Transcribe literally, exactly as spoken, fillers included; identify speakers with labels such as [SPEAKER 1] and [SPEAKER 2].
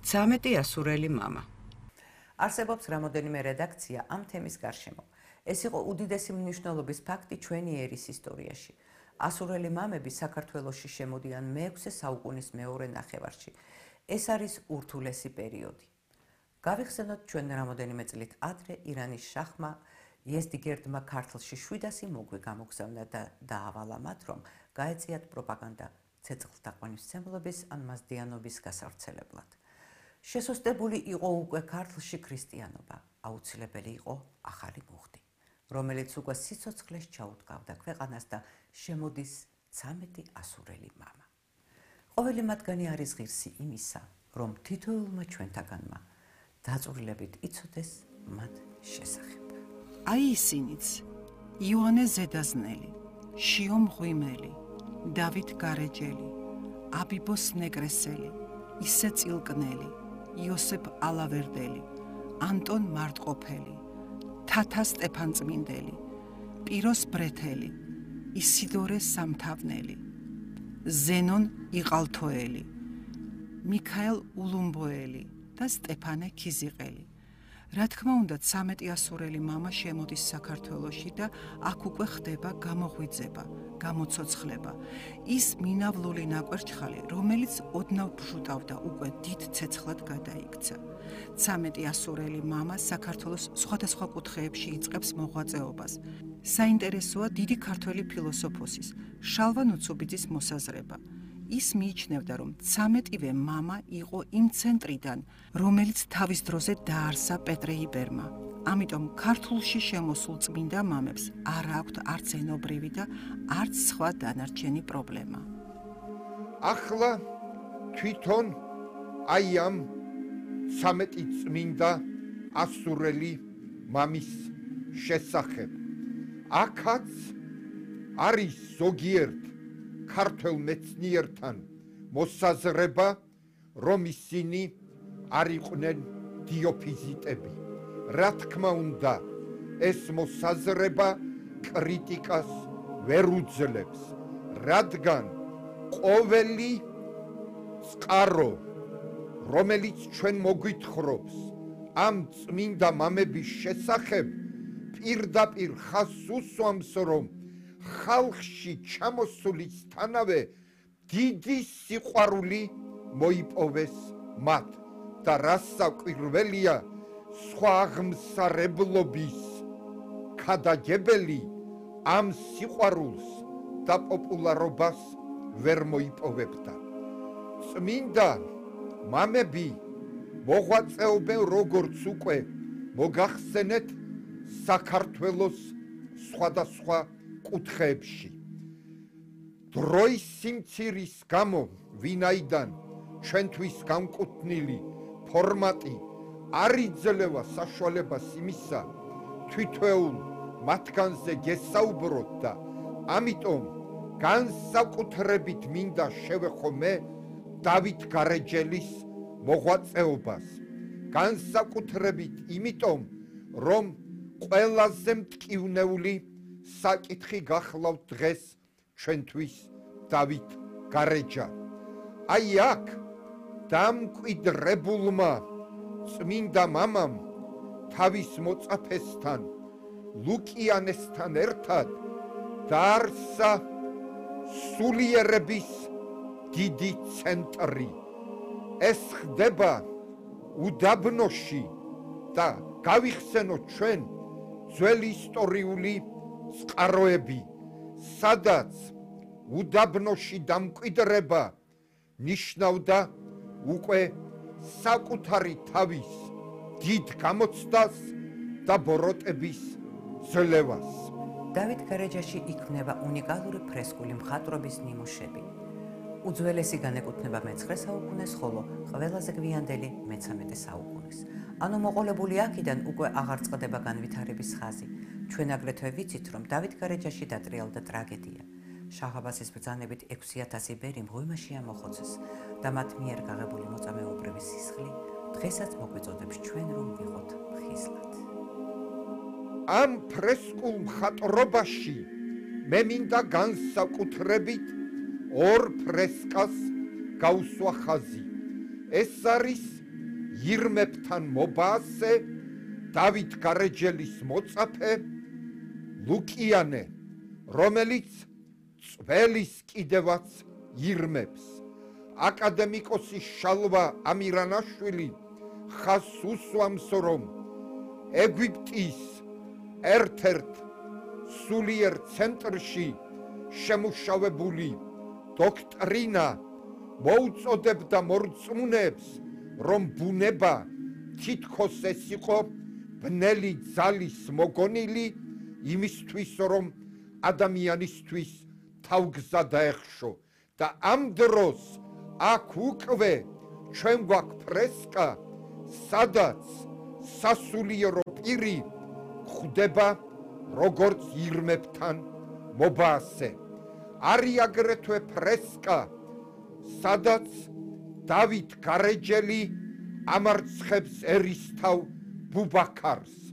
[SPEAKER 1] ცამეტი ასურელი მამა.
[SPEAKER 2] არსებობს რამოდენიმე რედაქცია ამ თემის გარშემო. ეს იყო უდიდესი მნიშვნელობის ფაქტი ჩვენი ერის ისტორიაში. ასურელი მამები საქართველოში შემოდიან მეექვსე საუკუნის მეორე ნახევარში. ეს არის ურთულესი პერიოდი. გავიხსენოთ ჩვენ რამოდენიმე წლით ადრე ირანის შაჰმა იეზდიგერდმა ქართლში შვიდასი მოგვი გამოგზავნა და დაავალა მათ, რომ გაეწიათ პროპაგანდა ცეცხლთაყვანისმცემლობის ან მაზდეანობის გასავრცელებლად. შესოსტებული იყო უკვე ქართლში ქრისტიანობა, აუცილებელი იყო ახალი მუხტი, რომელიც უკვე სიცოცხლეს ჩაუდგავდა ქვეყანას და შემოდის ცამეტი ასურელი მამა. ყოველი მათგანი არის ღირსი იმისა, რომ თითოეულმა ჩვენთაგანმა დაწვრილებით იცოდეს მათ შესახებ.
[SPEAKER 3] აი ისინიც: იოანე ზედაზნელი, შიო მღვიმელი, დავით გარეჯელი, აბიბოს ნეგრესელი, ისე წილკნელი, იოსებ ალავერდელი, ანტონ მარტყოფელი, თათა სტეფანწმინდელი, პიროს ბრეთელი, ისიდორე სამთავნელი, ზენონ იყალთოელი, მიქაელ ულუმბოელი და სტეფანე ქიზიყელი. რა თქმა უნდა, ცამეტი ასურელი მამა შემოდის საქართველოში და აქ უკვე ხდება გამოღვიძება, გამოცოცხლება. ის მინავლული ნაკვერჩხალი, რომელიც ოდნავ ბჟუტავდა, უკვე დიდ ცეცხლად გადაიქცა. ცამეტი ასურელი მამა საქართველოს სხვადასხვა კუთხეებში იწყებს მოღვაწეობას. საინტერესოა დიდი ქართველი ფილოსოფოსის შალვა ნუცუბიძის მოსაზრება. ის მიიჩნევდა, რომ ცამეტივე მამა იყო იმ ცენტრიდან, რომელიც თავის დროზე დაარსა პეტრე იბერმა. ამიტომ ქართულში შემოსულ წმინდა მამებს არ აქვთ არც ენობრივი და არც სხვა დანარჩენი პრობლემა.
[SPEAKER 4] ახლა თვითონ აი ამ ცამეტი წმინდა ასურელი მამის შესახებ. აქაც არის ზოგიერთ ქართველ მეცნიერთან მოსაზრება, რომ ისინი არ იყვნენ დიოფიზიტები. რა თქმა უნდა, ეს მოსაზრება კრიტიკას ვერ უძლებს, რადგან ყოველი წყარო, რომელიც ჩვენ მოგვითხრობს ამ წმინდა მამების შესახებ, პირდაპირ ხაზს უსვამს, რომ ხალხში ჩამოსულისთანავე დიდი სიყვარული მოიპოვეს მათ და რას საკვირველია, სხვა აღმსარებლობის ქადაგებელი ამ სიყვარულს და პოპულარობას ვერ მოიპოვებდა. წმინდა მამები მოღვაწეობენ, როგორც უკვე მოგახსენეთ, საქართველოს სხვადასხვა კუთხეებში. დროის სიმცირის გამო, ვინაიდან ჩვენთვის განკუთვნილი ფორმატი არ იძლევა საშუალებას იმისა, თითოეულ მათგანზე გესაუბროთ და ამიტომ განსაკუთრებით მინდა შევეხო მე დავით გარეჯელის მოღვაწეობას. განსაკუთრებით იმიტომ, რომ ყველაზე მტკივნეული საკითხი გახლავთ დღეს ჩვენთვის დავით გარეჯა. აი აქ დამკვიდრებულმა წმინდა მამამ თავის მოწაფესთან ლუკიანესთან ერთად დაარსა სულიერების დიდი ცენტრი. ეს ხდება უდაბნოში და გავიხსენოთ ჩვენ ძველი ისტორიული წყაროები, სადაც უდაბნოში დამკვიდრება ნიშნავდა უკვე საკუთარი თავის დიდ გამოცდას და ბოროტების ძლევას.
[SPEAKER 2] დავით გარეჯაში იქმნება უნიკალური ფრესკული მხატვრობის ნიმუშები. უძველესი განეკუთვნება მეცხრე საუკუნეს, ხოლო ყველაზე გვიანდელი მეცამეტე საუკუნის. ანუ მოყოლებული აქედან უკვე აღარ წყდება განვითარების ხაზი. ჩვენ აგრეთვე ვიცით, რომ დავით გარეჯაში დატრიალდა ტრაგედია. შაჰ-აბასის ბრძანებით ექვსი ათასი ბერი მღვიმაში ამოხოცეს და მათ მიერ გაღებული მოწამეობრივი სისხლი დღესაც მოგვიწოდებს ჩვენ, რომ ვიყოთ ხიზლად.
[SPEAKER 4] ამ ფრესკულ მხატვრობაში მე მინდა განსაკუთრებით ორ ფრესკას გაუსვა ხაზი. ეს არის ირმებთან მობაასე, დავით გარეჯელის მოწაფე, ლუკიანე, რომელიც წველის კიდევაც ირმებს. აკადემიკოსი შალვა ამირანაშვილი ხაზს უსვამს, რომ ეგვიპტის ერთ-ერთ სულიერ ცენტრში შემუშავებული დოქტრინა მოუწოდებდა მორწმუნეებს, რომ ბუნება თითქოს ეს იყო ბნელი ძალის მოგონილი იმისთვის, რომ ადამიანისთვის თავგზა დაეხშო და ამ დროს აქ უკვე ჩვენ გვაქვს ფრესკა, სადაც სასულიერო პირი ხვდება როგორც ირმებთან მობაასე. არის აგრეთვე ფრესკა, სადაც დავით გარეჯელი ამარცხებს ერისთავ ბუბაქარს.